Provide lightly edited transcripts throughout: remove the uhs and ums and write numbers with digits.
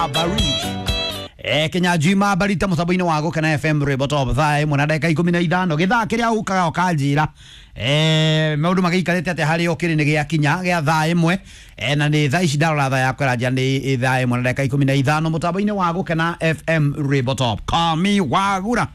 Mabari. Kinyanjui Mabari ta mũtambo-inĩ wa Gũkena FM rwĩmbo top thaa ĩmwe na ndagĩka 15 gĩthaa kĩrĩa ũkaga ũkanjĩra maũndũ magĩikarĩte atĩa harĩ o kĩrĩ nĩ gĩakinya gĩa thaa ĩmwe na nĩ thaa ici ndarora thaa yakwa ĩranjia nĩ thaa ĩmwe na ndagĩka 15 mũtambo-inĩ wa Gũkena FM rwĩmbo top Kami Wagura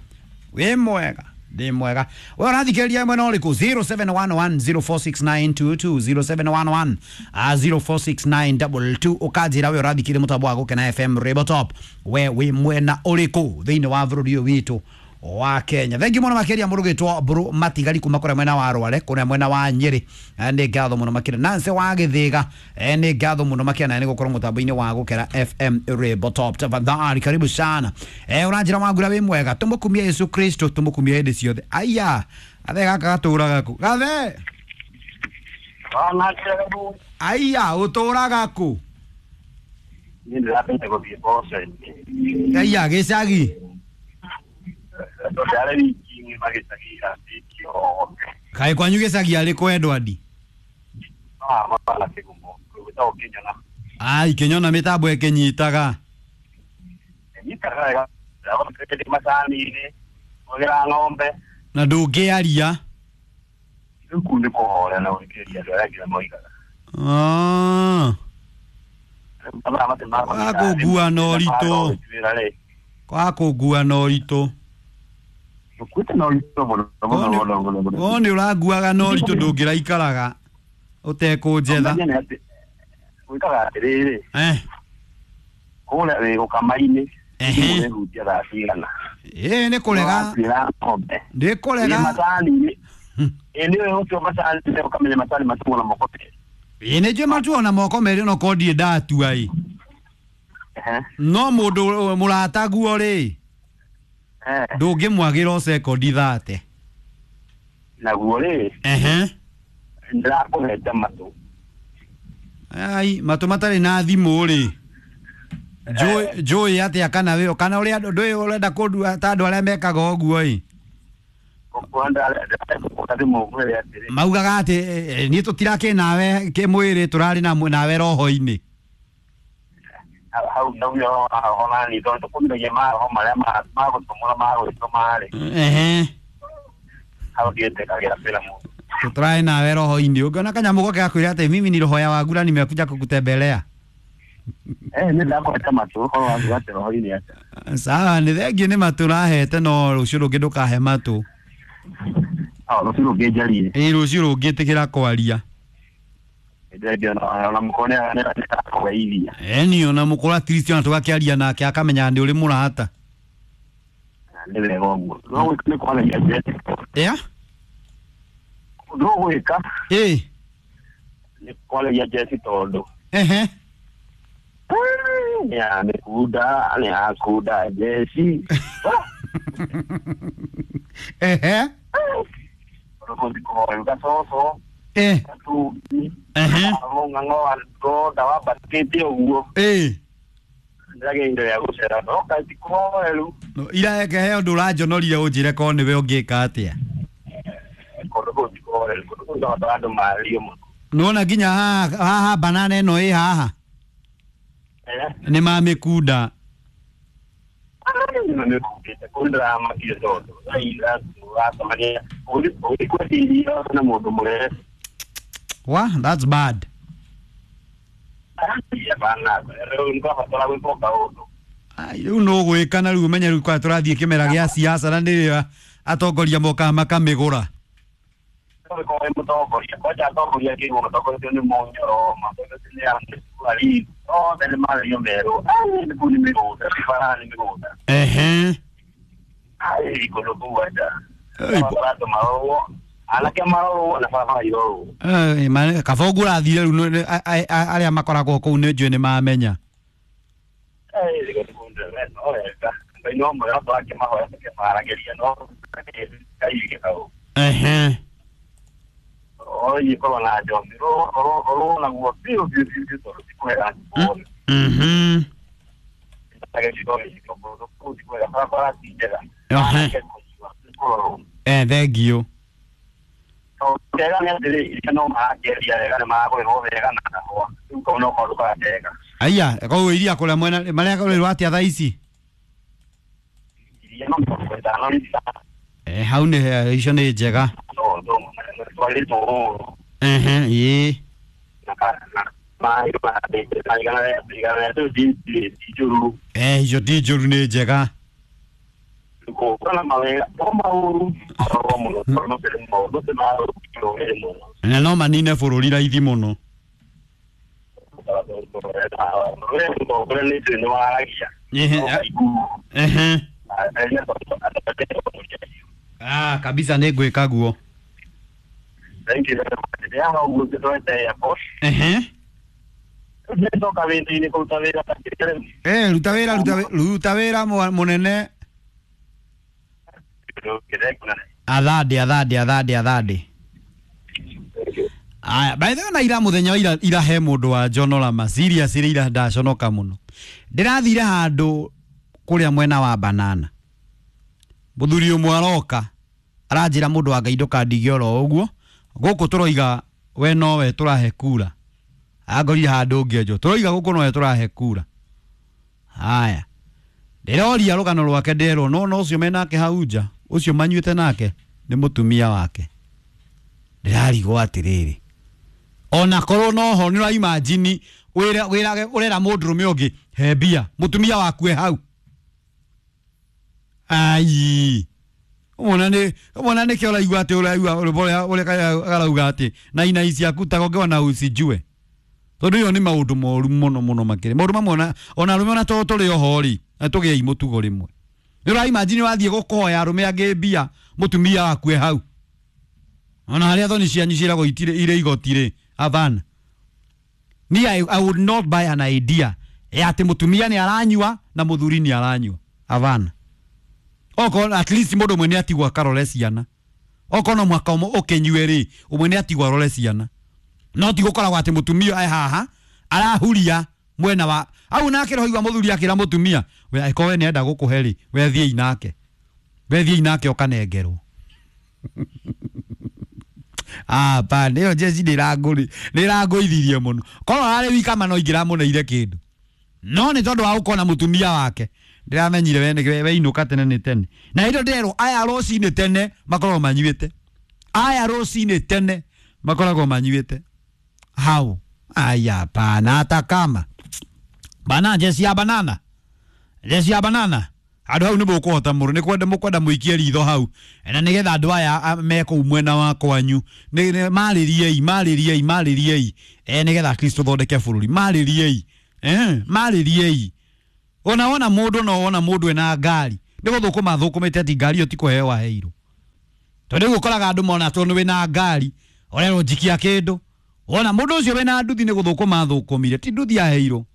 wĩ mwega ndĩ mwega we ũrathikĩrĩria mwena ũrĩkũ 0711046922 0711 046922 ũkanjĩra we ũrathikĩrĩria mũtambo wa Gũkena FM rwĩmbo top we wĩ mwena ũrĩkũ thĩinĩ wa bũrũri ũyũ witũ wa Kenya. Thengi mũno makĩria mũndũ gĩtwo Mbũrũ Matigari kuma kũrĩa mwena wa Rware kũrĩa mwena wa Nyĩrĩ. Nĩ ngatho mũno makĩria Nancy wa Gĩthĩga, nĩ ngatho mũno makĩria na nĩ gũkorwo mũtambo-inĩ wa Gũkena FM rwĩmbo top. Tafadhali karibu sana. Ũranjĩra Wangura wĩ mwega, tũmũkumie Yesu Kristo, tũmũkumie hĩndĩ ciothe. Aya gathe gaka gatũraga kũ? Gathe aya ũtũraga kũ? Niĩ ndĩrambĩte gũthiĩ mboco-inĩ. Aya gĩcagi Tondũ ndarĩ wiki ng'ima gĩcagi irambĩtie othe. Kaĩ kwanyu gĩcagi arĩ kũ Edward? Mabana kĩgumo gwĩtagwo Kĩnyona. Ai Kĩnyona mĩtambo ĩkĩnyitaga. Nyitaga wega ndĩ macani-inĩ kũgĩra ng'ombe. Na ndũngĩaria. Rĩu kũu nĩ kũhorea na gũthikĩrĩria andũ arĩa angĩ ũrĩa moigaga. Ah. Mathaa macio ma Wa kũngua na ũritũ. Wĩra rĩ. Kwa kũngua na ũritũ. Ũkuĩte na ũritũ mũno mũno mũno mũno mũno. O nĩ ũranguaga na ũritũ ndũngĩraikaraga ũtekũnjetha. Ũmenye nĩ atĩ gwĩkaga atĩrĩrĩ kũrĩa wĩ gũkama-inĩ Ehe. ũrehutia thaa cigana. Ĩ nĩ kũrega. Watuĩra ng'ombe. Nĩ Ĩ kũrega. macani-inĩ. Ĩ nĩ ũĩ gũtua macani ũkamenya macani matuo na moko merĩ. Ĩ nĩ njũĩ matuo na moko merĩ no korwo ndirĩ ndatua ĩ. No mũndũ mũrataguo rĩ ndũngĩmwagĩra o sekondi 30. Naguo rĩ Ehe. ndĩrakũhete matũ. Ai matũ matarĩ na thimũ rĩ njũĩ atĩa kana wĩ kana ũrĩa ndũĩ ũrenda kũndua ta andũ arĩa mekaga ũguo ĩ. Maugaga atĩ niĩ tũtirakĩ nawe kĩmwĩrĩ tũrarĩ nawe roho-inĩ. Hau ndaugire ona ni tondũ tũkũmithagia maroho marĩa magũtũmũra magwĩtũma rĩ. Ehe. Hau ndiĩtĩkagĩra wĩra mũndũ. Tũtũrarĩ nawe roho-inĩ ũngĩona kanyamũ goke gakwĩra atĩ mimi ni roho ya Wagura nimekuja kukutembelea. Nĩ ndakũhete matũ ũhoro waku atĩ roho-inĩ atĩa. Sawa nĩ thengiũ nĩ matũ ũrahete no rũciũ rũngĩ ndũkahe matũ. Rũciũ rũngĩ njarie. Ĩ rũciũ rũngĩ ĩtĩkĩra kwaria. Ona mũkũrũ nĩ arakũgeithia. Eni ona mũkũrũ at least ona tũgakĩaria nake akamenya nĩ ũrĩ mũrata. Nĩ wega ũguo. No gwĩka nĩ kwaragia njete. Yeah? No gwĩka Ĩ. nĩ kwaragia njeci tondũ. Ehe. Nĩ amĩkunda nĩ akunda njeci. Ehe. Rũkũthi kũhoya gacoco. Eh. Gatumbi. Ehe. Ng'ang'o wa ngonda wambatĩte ũguo. Ĩ. Ndĩragĩa indo ya gũcera no kaĩ ti kũhoeru. No ira eke he ũndũ ũranjonorire ũnjĩre korwo nĩwe ũngĩka atĩa. Kũndũ kũu ti kũhoeru kũndũ kũu no andũ mario mũno. Nĩwona nginya haha haha banana ĩno ĩ haha nĩ mamĩkunda. Nĩmĩkundĩte kũu ndĩramakire tondũ ũracemania ũgĩthiĩ kwendia irio na mũndũ mũrere. Wa that's bad. Bana rĩu nĩtwabatara gwĩkwo kaũndũ. Ai rĩu no gwĩka na rĩu ũmenye rĩu kwa tũrathiĩ kĩmera gĩa siasa na nĩrĩo atongoria mokaga makamĩgũra. Ũgĩkorwo wĩ mũtongoria kwanja atongoria kĩguo matongoretio nĩ Mũnyoro matongoretio nĩ Ahmed othe nĩ mario merũ kũu nĩ mĩgũnda barabara nĩ mĩgũnda. Ehe. Ai kũndũ kũu aca andũ marorwo anake marorwo na barabara irorwo. Kaba ũguo ũrathire rĩu arĩa makoragwo kũu nĩ njũĩ nĩ mamenya. Ngai no mwega tũrakĩmahoya tũkĩmaragĩria no Ngai wike hau. Ehe. Oi korwo na njombi rũrwo naguo biũ biũ biũ biũ tondũ ti kwega kuona. Gĩcigo gĩcigo kũndũ kũu ti kwega barabara ti njega. Ehe. Kũrorwo. Thengiũ. Wega nĩ atĩrĩ iria no marakĩendia wega nĩ maragũrĩrwo wega na kahũa rĩu kau no kaũndũ karandega. Aya koguo iria kũrĩa mwena marĩa kũrĩrwo atĩa thaa ici? Iria no 50 rita. Hau nĩ icio nĩ njega. No no twarĩtwo ũũ. Ehe, ĩĩ. Na maĩ ma igana rĩa ti njũru. Icio ti njũru, nĩ njega. Gũkũ mawega to maũru marorwo mũno tondũ no maũndũ ti maũru mũno. Na no manine bũrũri raithi mũno. Mũtongoria nĩ njũĩ nĩ waragia. Ehe. Ehe. Ah, kabisa nĩ ngwĩka guo. Thank you very much. Ndĩaga ũguo ngĩtwete airport. Ehe. Ndoka wĩra-inĩ kũruta wĩra ta kĩrĩ. Ruta wĩra, ruta wĩra mũnene. Athande, athande, athande, athande. Aya, by the way, na ira mũthenya wa ira, ira he mũndũ wa njonora ma serious ira ndaconoka mũno. Ndĩrathire handũ kũrĩa mwena wa banana. Mũthuri ũmwe aroka aranjĩra mũndũ wa Ngai ndũkandige oro ũguo gũkũ tũroiga we nowe tũrahe kura. Angorire handũ ngĩenjwo tũroiga gũkũ nowe tũrahe kura. Haya, ndĩroria rũgano rwake nderwo no no ũcio menake hau nja ũcio manyuĩte nake nĩ mũtumia wake. Ndĩrarigwo atĩrĩrĩ, ona korwo noho nĩ ũraimajini wĩrage ũrera mũndũrũme ũngĩ he mbia mũtumia waku e hau. Ai, ũmona nĩ ũmona nĩkĩo ũraigua atĩ ũraigua ũrĩa ũrĩa karauga atĩ na inai ciaku tagongewa na ucijue tondũ ĩyo nĩ maũndũ moru mũno mũno makĩria maũndũ mamwe ona arũme ona to tũrĩ oho rĩ na tũgĩei mũtugo rĩmwe. Nĩ ũraimajini wathiĩ gũkũhoya arũme angĩ mbia mũtumia waku e hau ona harĩa thoni cianyu ciĩragwo itirĩ irĩ igoti rĩ avana. Ni I would not buy an idea ya atĩ mũtumia nĩ aranyua na mũthuri nĩ aranyua avana. Okorwo at least mũndũ ũmwe nĩ atigwo akarore ciana, okorwo no mwaka ũmwe ũkĩnyue rĩ ũmwe nĩ atigwo arore ciana, no ti gũkoragwo atĩ mũtumia e haha arahuria mwena wa au nake roigua mũthuri akĩra mũtumia we angĩkorwo we nĩenda gũkũhe rĩ we thiĩi nake, we thiĩi nake ũkanengerwo. Ah, pa nĩyo jeci nĩ ĩrangũithirie mũno. Korwo ararĩ wika ma no ingĩramũneire kĩndũ, no nĩ tondũ wa gũkorwo na mũtumia wake ndĩramenyire we we inũka tene nĩ tene. Na hĩndĩ ndĩrerwo aya rũcinĩ tene makoragwo manyuĩte, aya rũcinĩ tene makoragwo manyuĩte hau. Aya pana hata kama bana jeci ya banana, jeci ya banana andũ hau nĩ mũkũhota mũno nĩ kwenda mũkwenda mũikie ritho hau na nĩgetha andũ aya me kũu mwena wa kwanyu marĩriei marĩriei marĩriei nĩgetha at least tũthondeke bũrũri marĩriei marĩriei. Ona wona mũndũ no wona mũndũ ena ngari nĩ gũthũkũma thũkũmĩte ati ngari ĩyo ti kũheo aheirwo tondũ rĩu ũkoraga andũ mona tondũ wĩna ngari ũrerwo njikia kĩndũ wona mũndũ ũcio wĩna nduthi nĩ gũthũkũma thũkũmire ti nduthi aheirwo.